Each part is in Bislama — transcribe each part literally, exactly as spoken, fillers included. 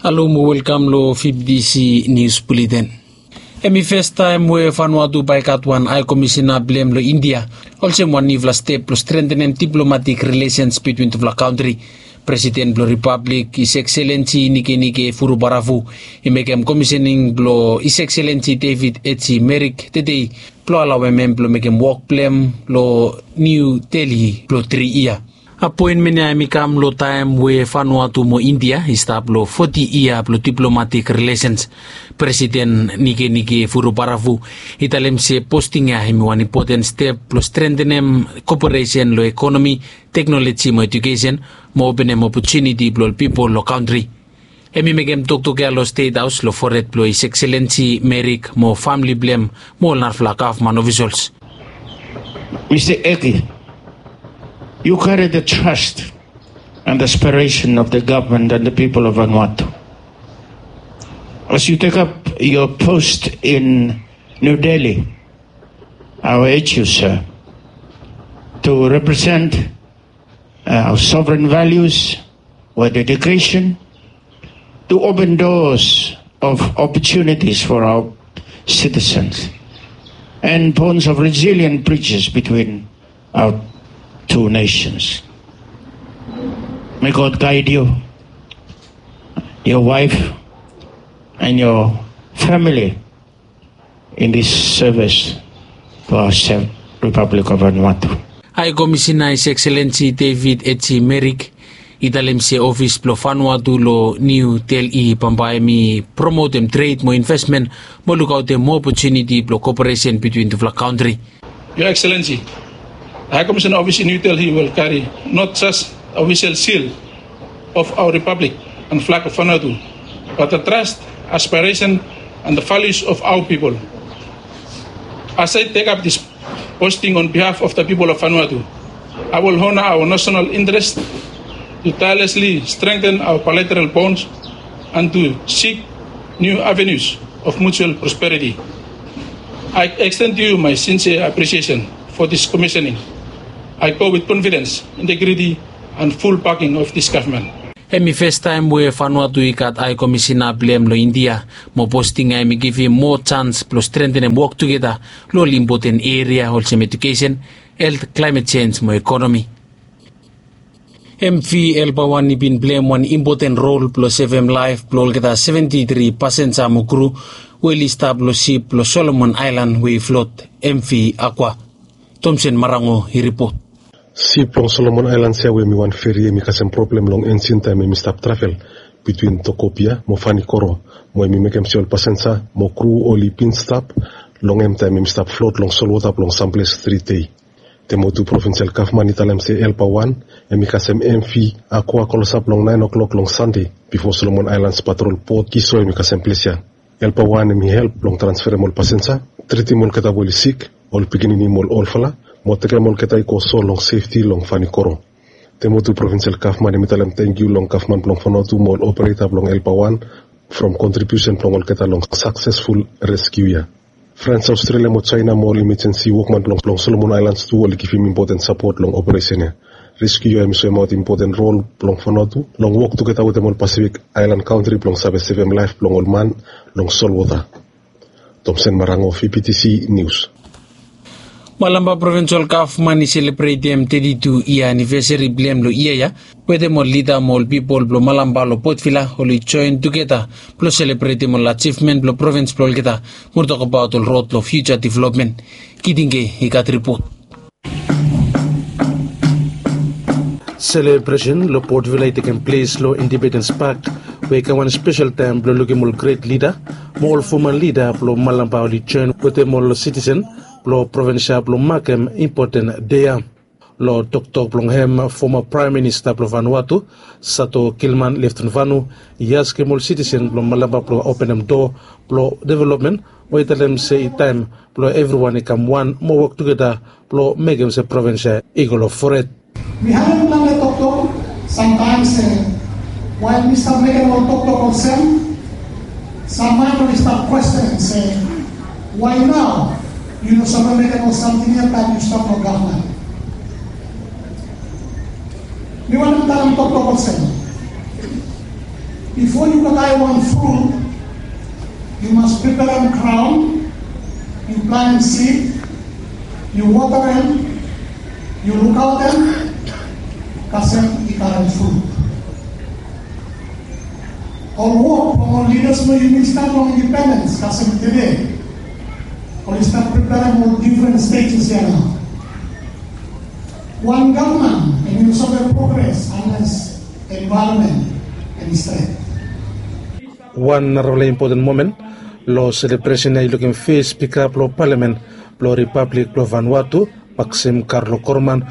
Halo mo welkam long fifti si nius buleten. Hem i festaem we Vanuatu bae i gat wan hae komisina blong hem long India, olsem wan niufala step blong strentenem diplomatik rilesens bitwin tufala kantri. Presiden blong Ripablik, His Excellency Nikenike Vurobaravu, i mekem komisening blong His Excellency David H. Merrick tedei blong alaoem hem blong mekem wok blong hem long Niu Delhi blong tri yia. Apoenmen ya hem i kam long taem we Vanuatu mo India i stap long foti yia blong diplomatik rilesens. Presiden Nikenike Vurobaravu i talem se posting ya hem i wan impoten step blong strentenem koperesen long ekonomi, teknoloji mo ejukesen, mo openem opotuniti blong ol pipol long kantri. Hem i mekem toktok ya long Stet Haos long fored blong His Excellency Merrick mo famle blong hem mo ol narafala gavman ofisols. Mista Eki, you carry the trust and aspiration of the government and the people of Vanuatu. As you take up your post in New Delhi, I urge you, sir, to represent uh, our sovereign values with dedication to open doors of opportunities for our citizens and bonds of resilient bridges between our two nations. May God guide you, your wife, and your family in this service to our Republic of Vanuatu. Hae Komisina His Excellency David H. Merrick i talem se ofis blong Vanuatu long Niu Delhi bambae hem i promotem tred mo investmen mo lukaotem moa opotuniti blong koperesen bitwin tufala kantri. Your Excellency, the High Commissioner Office in New Delhi will carry not just the official seal of our Republic and flag of Vanuatu, but the trust, aspiration, and the values of our people. As I take up this posting on behalf of the people of Vanuatu, I will honor our national interest to tirelessly strengthen our bilateral bonds and to seek new avenues of mutual prosperity. I extend to you my sincere appreciation for this commissioning. I go with confidence, integrity, and full backing of this government. Hem i festaem we Vanuatu i gat Hae Komisina blong hem long India, mo posting ya hem i givim moa jans blong strentenem wok tugeta long ol impoten eria olsem ejukesen, helt, klaemet jenj mo ekonomi. M V Elbawan i bin pleim wan impoten rol blong sevem laef blong olgeta seventi tri pasenja mo kru we oli stap long sip blong Solomon Aelan we i flot, M V Aqua. Tomsen Marango i ripot. Sip blong Solomon Aelans ya we hem i wan feri hem i kasem problem long enjin taem hem i stap travel bitwin Tokopia mo Vanikoro, mo hem i mekem se ol pasenja mo kru oli bin stap long hem taem hem i stap flot long solwota blong samples tri dei. Temotu provinsel gavman i talem se Elbawan hem i kasem M V Aqua klosap long naen oklok long Sande bifo Solomon Aelans patrol bot Kiso hem i kasem ples ya. Elbawan hem i help blong transferem ol pasenja, tritim olgeta we oli sik, ol pikinini mo ol olfala, mo tekem olgeta i go sol long sefti long Vanikoro. Temotu provinsel gavman hem i talem tangkiu long gavman blong Vanuatu mo ol opereta blong Elbawan from kontribiusen blong olgeta long saksesful reskiu ya. Frans Aostrelia mo Jaena mo ol imejensi wokman blong Solomon Aelans tu oli givim impoten sapot long operesen ya. Reskiu ya hem i soemaot impoten rol blong Vanuatu long wok tugeta wetem ol Pasifik aelan kantri blong save sevem laef blong ol man long solwota. Tomsen Marango, V P T C Nius. Malampa Provinsel Gavman i selebretem teti tu yia anivesari blong hem long yia ya wetem ol lida mo ol pipol blong Malampa long Potvila oli joen tugeta blong selebretem ol ajivmen blong provins blong olgeta mo tokbaot ol rod long fiuja developmen. Kitingke i gat ripot. Selebresen long Potvila i tekem ples long Independens Pak we i kam wan spesel taem blong lukim ol gret lida mo ol foman lida blong Malampa oli joen wetem ol sitisen blong provins ya blong makem impoten dei ya. Long toktok blong hem, foma Praem Minista blong Vanuatu, Sato Gilman Leftonvanu, i askem ol sitisen blong Malampa blong openem doa blong developmen, mo i talem se i taem blong evriwan i kam wan mo wok tugeta blong mekem se provins ya i go long fored. Mi harem plante toktok samtaem se wael mi stap mekem ol toktok olsem, sam man oli stap kwesten se, why nao yu no save mekem ol samting ya taem yu stap long gavman? Mi wantem talem toktok olsem, Bifo yu go dai wan frut, yu mas preperem graon, yu planem sid, yu wotarem, yu lukaotem, kasem i karem frut. Ol wok blong ol lidas blong yumi stap long indipendens kasem tede, oli stap preperem ol difren stejes ya nao. Wan gavman hemi no save progres anles envaeronmen hemi stret. Wan narafala impoten momen long selebresen ya i lukim fes spika blong palamen blong Ripablik blong Vanuatu, Maxim Karlo Korman,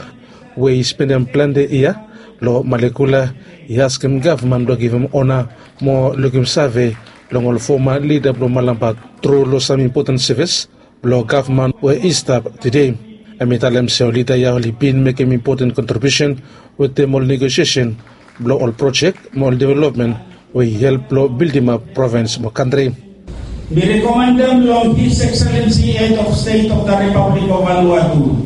we i spendem plante yia long Malekula, i askem gavman blong givim ona mo lukim save long ol foma lida blong Malampa tru long sam impoten sevis blong gavman we i stap tede. Hemi talem se ol lida ya oli bin mekem impoten kontribiusen wetem ol negosiesen blong ol projek mo ol developmen we i help blong bildimap provins mo kantri. Mi rekomendem long His Excellency Head of State of the Republic of Vanuatu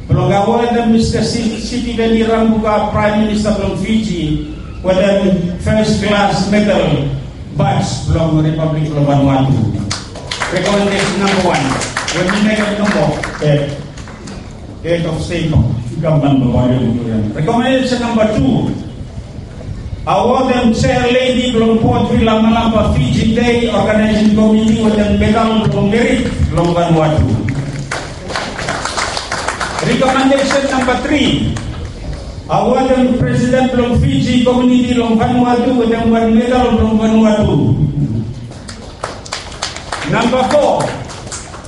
blong awodem Mista Si- Sitiveni Rabuka, Praem Minista blong Fiji, wetem fes klas medal baj blong Ripablik blong Vanuatu. Rekomendesen namba wan we mi mekem namba, eh, Head of State of Government blong Vanuatu. Rekomendesen namba tu, awodem Chair Lady blong Port Vila Malampa Fiji Day Organizing Committee wetem medal blong merit blong Vanuatu. Rekomendesen namba tri, awodem Presiden blong Fiji Komuniti long Vanuatu wetem wan medal blong Vanuatu. Namba fo,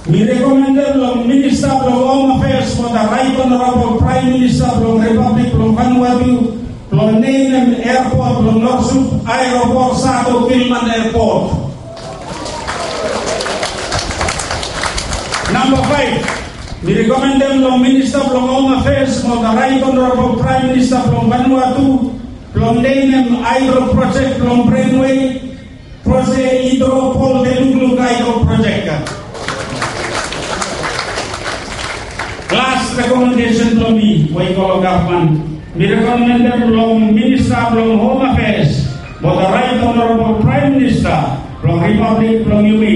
mi rekomendem long Minista blong Hom Afeas mo the Right Honorabol Praem Minista blong Ripablik blong Vanuatu blong nemem eapot blong Norsup Aeropot Sato Gilman Eapot. Namba faef, mi rekomendem long Minista blong Hom Afeas mo the Right Honorabol Praem Minista blong Vanuatu blong nemem haedro projek blong Brenwei, Projek Hidro Pol Telukluk Haedro Projek. Las rekomendesen blong mi we i go long gavman, mi rekomendem long Minista blong Hom Afeas mo the Right Honorabol Praem Minista blong Ripablik blong yumi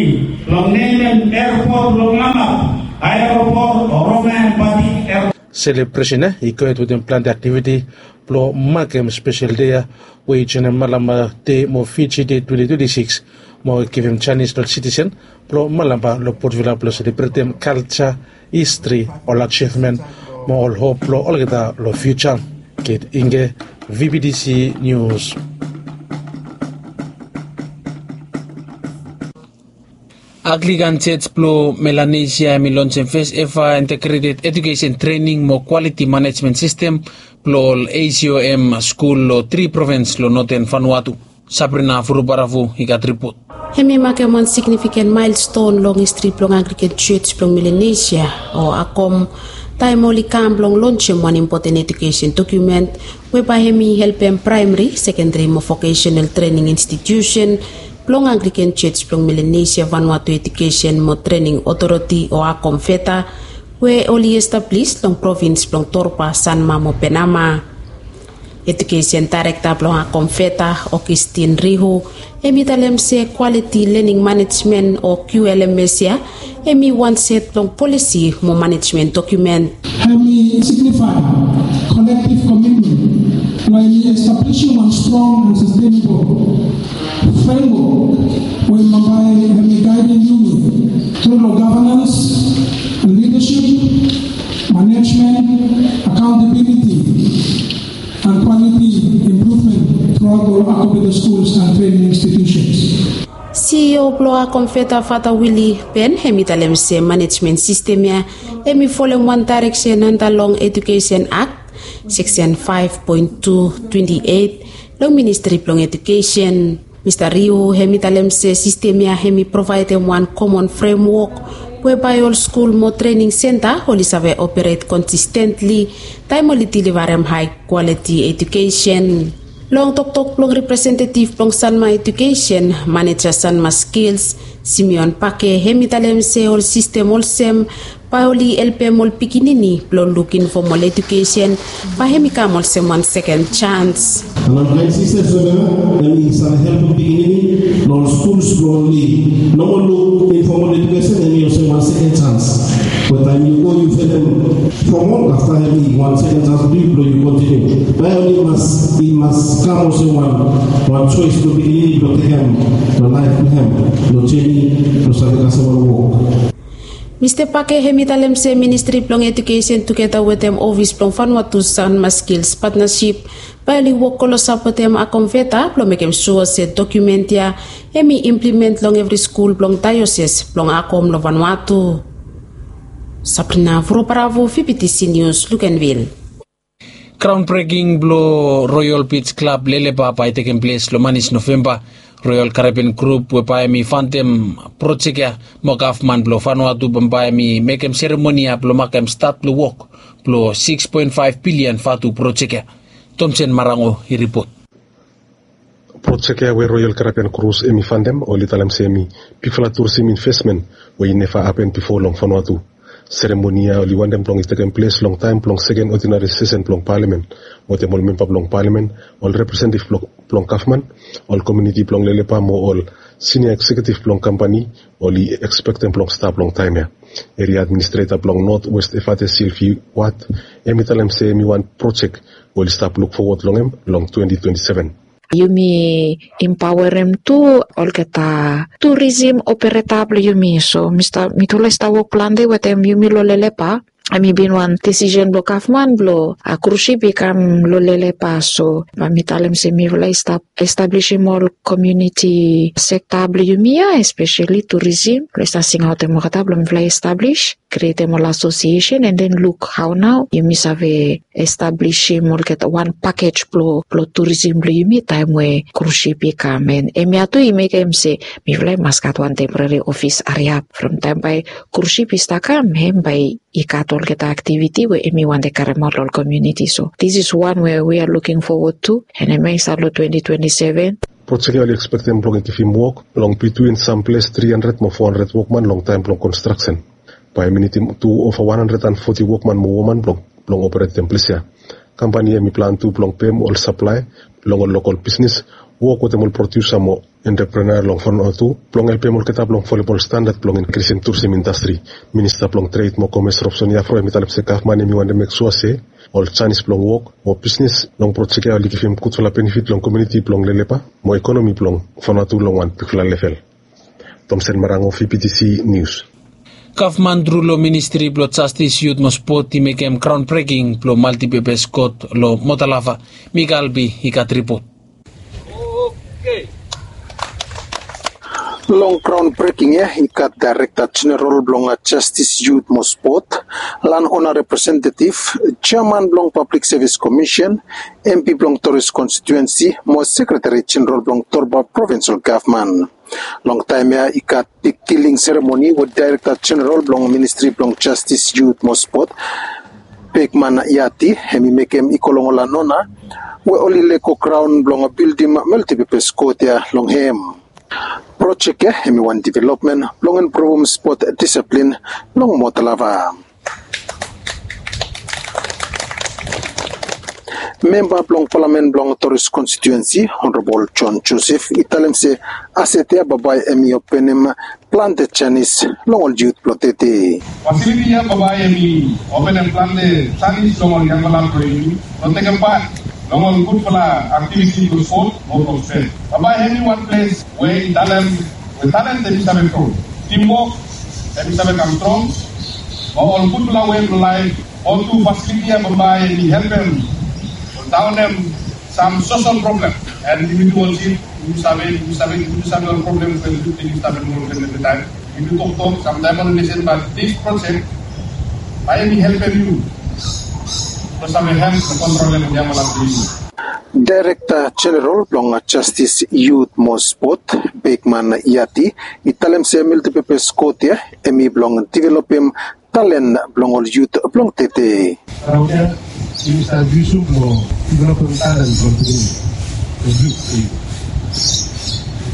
blong nemem eapot blong Lamap Aeropot Roman Batik Airport. Selebresen ya i gohed wetem plante aktiviti blong makem spesel dei ya we i joenem Malampa Dei mo Fiji Dei twenti twenti sikis mo givim janis long sitisen blong Malampa long Port Vila blong selebretem kalja, histri, ol ajivmen mo ol hop blong olgeta long fiuja. Kate Inge, V B T C News. Anglikan Jos blong Melanesia hemi lonsem fes eva integreted ejukesen trening mo kwaliti manejmen sistem blong ol A C O M skul long tri provins long noten Vanuatu. Sabrina Furubaravu i gat ripot. Hemi makem wan signifiken maelston long histri blong Anglikan Jos blong Melanesia o ACOM, taem oli kam blong lonsem wan impoten ejukesen dokumen we bae hemi helpem praemeri, sekenderi mo vokesenal trening institiusen blong Anglikan Jos blong Melanesia Vanuatu Ejukesen mo Trening Otoriti o ACOMVETA we oli establis long provins blong Torba, Sanma mo Penama. Ejukesen daerekta blong ACOMVETA, Augustine Rihu, hemi talem se kwaliti lening manejmen o Q L M S ya hemi wan set blong polisi mo manejmen dokumen. Hemi signifae kolektiv komitmen blong hemi establisim wan strong and sastenabol fremwok we bambae hemi gaedem yumi tru long gavanans, lidasip, manejmen, akaontabiliti and kwaliti impruvmen truaot ol ACOMVETA skuls and trening institiusens. CEO blong ACOMVETA, Fata Willy Ben, hemi talem se manejmen sistem ya hemi folem wan daereksen anda long Ejukesen Akt, seksen faef poen tu twenti eit, long Ministri blong Ejukesen. Mista Rihu hemi talem se sistem ya hemi provaedem wan komon fremwok we bae ol skul mo trening senta oli save operet konsistentli taem oli delivarem hae kwaliti ejukesen. Long toktok blong representetiv blong Sanma Ejukesen, maneja Sanma Skills, Simeon Pake, hemi talem se ol sistem olsem Bae oli helpem ol pikinini blong lukim fom ol ejukesen, bae hem i kam olsem wan seken jans. Long kaen sistem so ya, em i save helpem pikinini long skul blong oli no moa luk informal ejukesen, em i olsem wan seken jans. Be taem yu go yu finis formal, afta em i wan seken jans blong yu blong yu kontiniu. Be oli mas, i mas kam olsem wan, wan choice blong pikinini blong tekem long laef blong hem, long jeni blong save kasem ol wok. Mista Pake hem i talem se Ministri blong Ejukesen tugeta wetem ofis blong Vanuatu Sanma Skills Partnership bae oli wok klos sapotem Akomveta blong mekem sua se dokumen ya hem i implement long evri skul blong daeoses blong Akom long Vanuatu. Sabrina Voroparavo, V B T C News, Luganville. Graondbreking blong Royal Beach Club Lelepa bae i tekem ples long manis Novemba. Royal Caribbean Group we bae hem i fandem projek ya mo gavman blong Vanuatu bambae hem i mekem seremoni ya blong makem stat blong wok blong sikis poen faef bilian vatu projek ya. Tomsen Marango i ripot. Projek ya we Royal Caribbean Cruise hem i fandem, oli talem se hem i bigfala turisim invesmen we i neva hapen bifo long Vanuatu. Seremoni ya oli wantem blong i tekem ples long taem blong seken odinari sesen blong palamen, wetem ol memba blong palamen, ol representetiv blong, blong gavman, ol komuniti blong Lelepa mo ol sinia ekseketiv blong kampani oli ekspektem blong stap long taem ya. Eria administreta blong North West Efate Silvi Wat hem i talem se hem i wan projek we oli stap luk fowod long hem long twenti twenti seven. Yumi impaoerem tu olgeta turisim opereta blong yumi. So mista, mitufala i stap wok plante wetem yumi long Lelepa. Hem i bin wan disisen blong gavman blong a krus sip i kam long Lelepa. So bae mi talem se mifala i stap establisim ol komuniti sekta blong yumi ya, espeseli turisim, blong i stap singaotem olgeta blong mifala i establis, krietem ol asosiesen, and then luk hao nao yumi save establisim olgeta wan pakej blong, blong turisim blong yumi taem we krus sip i kam. And hemia tu i mekem se mifala i mas gat wan temporari ofis hariap from taem bae krus sip i stap kam, hem bae i gat olgeta aktiviti we hem i wantem karemaot long ol komuniti. So this is one we we are looking forward to, and hemia i stap long twenti twenti seven. Projek ya oli ekspektem blong i givim wok long bitwin samples tri handred mo fo handred wokman long taem blong konstraksen. Bae hem i nidim tu ova wan handred and foti wokman mo woman blong, blong operetem ples ya. Kampani ya hem i plan tu blong pem ol saplaea long ol lokol bisnes, wok wetem ol prodiusa mo entreprenea long Vanuatu blong helpem olgeta blong folem ol standad blong inkrisim turisim indastri. Minista blong Tred mo Komes Robson Yafro hem i talem se gavman hem i wantem mek sua se ol janis blong wok mo bisnes long projek ya oli givim gudfala benefit long komuniti blong Lelepa mo ekonomi blong Vanuatu long wan bigfala level. Tomsen Marango, V B T C News. Gavman tru long Ministri blong Jastis, Yut mo Spot i mekem graondbreking blong maltipepes kot long Motalava. Mika Albi i gat ripot. Long graondbreking ya i gat Daerekta Jeneral blong Jastis, Yut mo Spot, Lanona Representetiv, Jeaman blong Pablik Sevis Komisen, MP blong Toris Konstituensi mo Sekretari Jeneral blong Torba Provinsel Gavman. Long taem ya i gat bigkiling seremoni we Daerekta Jeneral blong Ministri blong Jastis, Yut mo Spot, Bekman Yati, hem i mekem i go long ol Lanona we oli lego graon blong bildim maltipepes kot ya long hem. Projek ya hem i wan developmen blong improvem spot disiplin long Motalava. Memba blong palamen blong Toris Konstituensi, Honorabol John Joseph, i talem se aset ya bambae hem i openem plante janis long ol yut blong tede. Fasiliti ya bambae hem i openem plante janis long ol yangfala blong yumi blong tekem pat long ol gudfala aktiviti blong spot mo blong spet. Bambae hem i wan ples we i talem, we talent hem i save gro. Timwok hem i save kam strong. Mo ol gudfala wei blong laef, ol tu fasiliti ya bambae hem i helpem ol daonem sam sosol problem. And yumi tu ol yut, yumi save, yumi save, yumi save ol problem we yut hem i stap long problem evri taem. Yumi toktok, samtaem ol lisen, bat dis projek bae hem i helpem yu blong save help blong kontrolem ol yangfala blong yu. Daerekta Jeneral blong Jastis, Yut mo Spot, Bekman Yati, i talem se maltipepes kot ya hem i blong developem talen blong ol yut blong tede. Raon ya yumi stap yusum blong developem talen blong pikinini, blong yut, blong yut.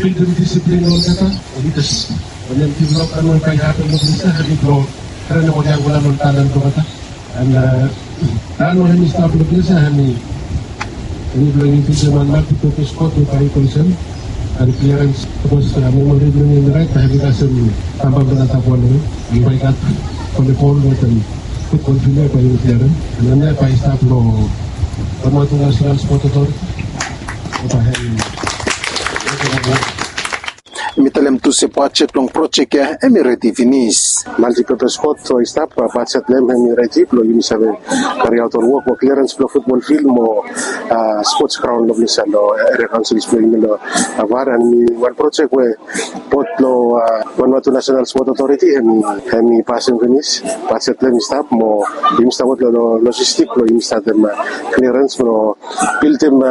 Bildim disiplin long olgeta, long lidasip. Wanem developmen we bae i hapen long ples ya hem i blong Ren ol yangfala long talan blong olgeta. An nao ol hemi stap long ples ya hemi, hemi blong yusum wan multipurpose kot we bae i konsem an kliarens sapos memori blong yumi raet bae hemi kasem bambam blong tap wan we bae i gat volebol wetem futbol fil ya bae yumi kliarens. An hemia bae i stap long Vanuatu National Sport Authority. Bae hemi Hemi talem tu se bajet blong projek ya hemi redi finis. Multipurpose kot we i stap, bajet blong hem hemi redi blong yumi save kariaot ol wok mo kliarens blong futbol fil mo spots graon long ples ya long eria kaonsil blong yumi long Var. An hemi wan projek we bod blong Vanuatu National Sport Authority hemi, hemi pasim finis. Bajet blong hem i stap mo yumi stap wok long logistik blong yumi statem kliarens blong bildim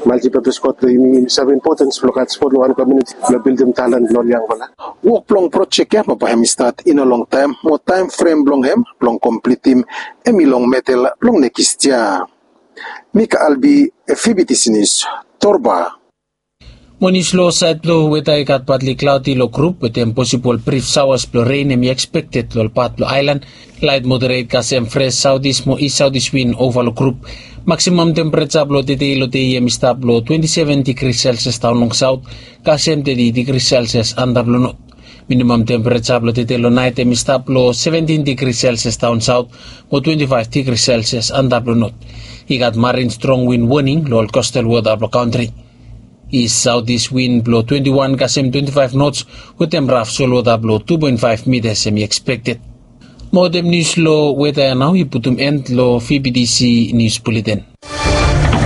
multipurpose kot blong yumi. Yumi save impotens blong gat spot long wan komuniti blong bildim talan blong ol yangfala. Wok blong projek ya mo bae hemi stat i no longtaem mo taem frem blong hem blong komplitim hemi long medel blong nekis yia. Mika Albi, Fibitisinis, Torba. Mo nius long saed blong weta i gat patli klaodi long grup wetem posibol brif saoas blong ren hemi ekspekted long ol pat blong aelan. Laet moderet kasem fres saotis mo is saotis win ova long grup. Maksimam tempereja blong tede long dei hemi stap long twenti seven digri selsias daon long saot kasem teti digri selsias antap long not. Minimam tempereja blong tede long naet hemi stap long seventin digri selsias daon saot mo twenti faef digri selsias antap long not. I gat marin strong win woning long ol kostal wota blong kantri. Is saotis win blong twenti wan kasem twenti faef nots wetem raf solwota blong tu poen faef mitas hemi ekspekted. Mo wetem nius long weta ya nao i putum en long Fibitisi nius buleten.